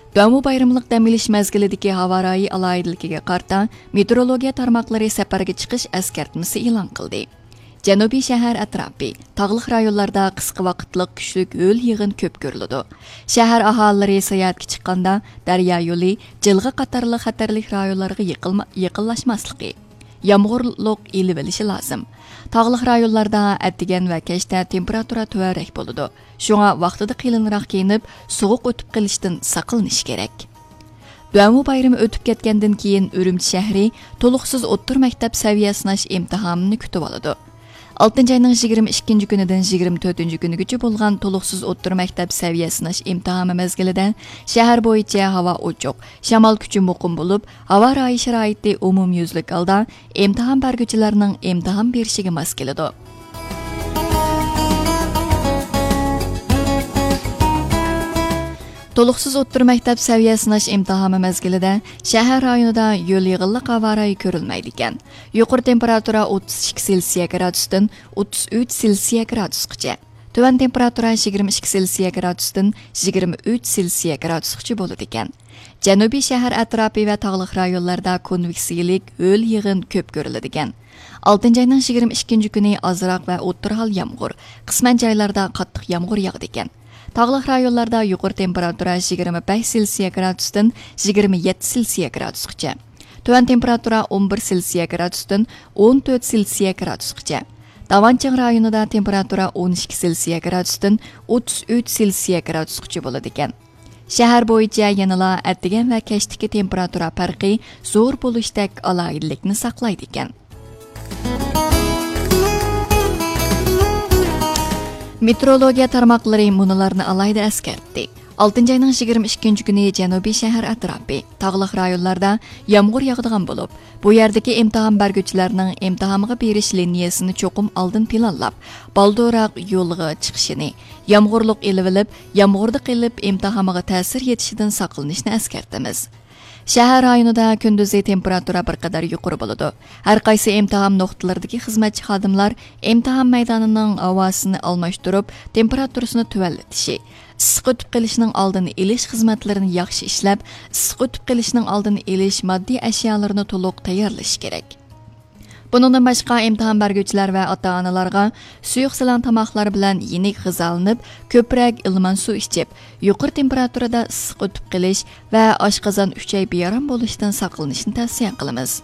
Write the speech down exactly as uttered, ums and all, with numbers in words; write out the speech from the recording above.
دۇەنۋۇ بايرىملىق دەم ئېلىش مەزگىلىدىكى ھاۋا رايى ئالاھىدىلىكىگە قارىتا، مېتېئورولوگىيە تارماقلىرى سەپەرگە چىقىش ئەسكەرتمىسى ئېلان قىلدى. جەنۇبىي شەھەر ئەتراپى، تاغلىق رايونلاردا قىسقا ۋاقىتلىق كۈچلۈك ھۆل يېغىن كۆپ كۆرۈلىدۇ. شەھەر ئاھالىلىرى ساياھەتكە چىققاندا، دەريا يولى، جىلغا قاتارلىق خەتەرلىك رايونلارغا يېقىلما-، يېقىنلاشماسلىقى، يامغۇرلۇق ئېلىۋېلىشى لازىم. تاغلىق رايونلاردا ئەتىگەن ۋە كەچتە تېمپېراتۇرا تۆۋەنرەك بولىدۇ. شۇڭا ۋاقتىدا قېلىنراق كىيىنىپ، سوغۇق ئۆتۈپ قېلىشتىن ساقلىنىش كېرەك. دۇەنۋۇ بايرىمى ئۆتۈپ كەتكەندىن كېيىن، ئۈرۈمچى شەھىرى تولۇقسىز ئوتتۇرا مەكتەپ سەۋىيە سىناش ئىمتىھانىنى كۈتۈۋالىدۇ. ئالتىنچى ئاينىڭ يىگىرمە ئىككىنچى كۈنىدىن يىگىرمە تۆتىنچى كۈنىگىچە بولغان تولۇقسىز ئوتتۇرا مەكتەپ سەۋىيە سىناش ئىمتىھانى مەزگىلىدە شەھەر بويىچە ھاۋا ئوچۇق، شامال كۈچى مۇقىم بولۇپ، ھاۋا رايى شارائىتى ئومۇميۈزلۈك ھالدا ئىمتىھان بەرگۈچىلەرنىڭ ئىمتىھان بېرىشىگە ماس كېلىدۇ. تولۇقسىز ئوتتۇرا مەكتەپ سەۋىيە سىناش ئىمتىھانى مەزگىلىدە شەھەر رايونىدا ھۆل يېغىنلىق ھاۋا رايى كۆرۈلمەيدىكەن. يۇقىرى تېمپېراتۇرا ئوتتۇز ئىككى سېلسىيە گرادۇستىن ئوتتۇز ئۈچ سېلسىيە گرادۇسقىچە. تۆۋەن تېمپېراتۇرا يىگىرمە ئىككى سېلسىيە گرادۇستىن يىگىرمە ئۈچ سېلسىيە گرادۇسقىچە بولىدىكەن. جەنۇبىي شەھەر ئەتراپى ۋە تاغلىق رايونلاردا كونۋېكسىيىلىك ھۆل يېغىن كۆپ كۆرۈلىدىكەن. ئالتىنچى ئاينىڭ يىگىرمە ئىككىنچى كۈنى ئازراق ۋە ئوتتۇرا ھال يامغۇر، قىسمەن جايلاردا قاتتىق يامغۇر ياغىدىكەن. تاغلىق رايونلاردا يۇقىرى تېمپېراتۇرا يىگىرمە بەش سېلسىيە گرادۇستىن يىگىرمە يەتتە سېلسىيە گرادۇسقىچە. تۆۋەن تېمپېراتۇرا ئون بىر سېلسىيە گرادۇستىن ئون تۆت سېلسىيە گرادۇسقىچە. داۋانچىڭ رايونىدا تېمپېراتۇرا ئون ئىككى سېلسىيە گرادۇستىن ئوتتۇز ئۈچ سېلسىيە گرادۇسقىچە بولىدىكەن. شەھەر بويىچە يەنىلا ئەتىگەن ۋە كەچتىكى تېمپېراتۇرا پەرقى زور بولۇشتەك ئالاھىدىلىكنى ساقلايدىكەن. مېتېئورولوگىيە تارماقلىرى مۇنۇلارنى ئالاھىدە ئەسكەرتتى. ئالتىنچى ئاينىڭ يىگىرمە ئىككىنچى كۈنى جەنۇبىي شەھەر ئەتراپى، تاغلىق رايونلاردا يامغۇر ياغىدىغان بولۇپ، بۇ يەردىكى ئىمتىھان بەرگۈچىلەرنىڭ ئىمتىھانغا بېرىش لىنىيەسىنى چوقۇم ئالدىن پىلانلاپ، بالدۇرراق يولغا چىقىشىنى، يامغۇرلۇق ئېلىۋېلىپ، يامغۇردا قېلىپ ئىمتىھانغا تەسىر يېتىشىدىن ساقلىنىشنى ئەسكەرتىمىز. شەھەر رايونىدا كۈندۈزى تېمپېراتۇرا بىر قەدەر يۇقىرى بولىدۇ. ھەر قايسى ئىمتىھان نۇقتىلىرىدىكى خىزمەتچى خادىملار ئىمتىھان مەيدانىنىڭ ھاۋاسىنى ئالماشتۇرۇپ، تېمپېراتۇرىسىنى تۆۋەنلىتىشى، ئىسسىق ئۆتۈپ قېلىشنىڭ ئالدىنى ئېلىش خىزمەتلىرىنى ياخشى ئىشلەپ، ئىسسىق ئۆتۈپ قېلىشنىڭ ئالدىنى ئېلىش ماددىي ئەشيالىرىنى تولۇق تەييارلىشى كېرەك. بۇنىڭدىن باشقا، ئىمتىھان بەرگۈچىلەر ۋە ئاتا-ئانىلارغا سۇيۇق سىلاڭ تاماقلار بىلەن يېنىك غىزالىنىپ، كۆپرەك ئىلمان سۇ ئىچىپ، يۇقىرى تېمپېراتۇرىدا ئىسسىق ئۆتۈپ قېلىش ۋە ئاشقازان-ئۈچەي بىئارام بولۇشتىن ساقلىنىشنى تەۋسىيە قىلىمىز.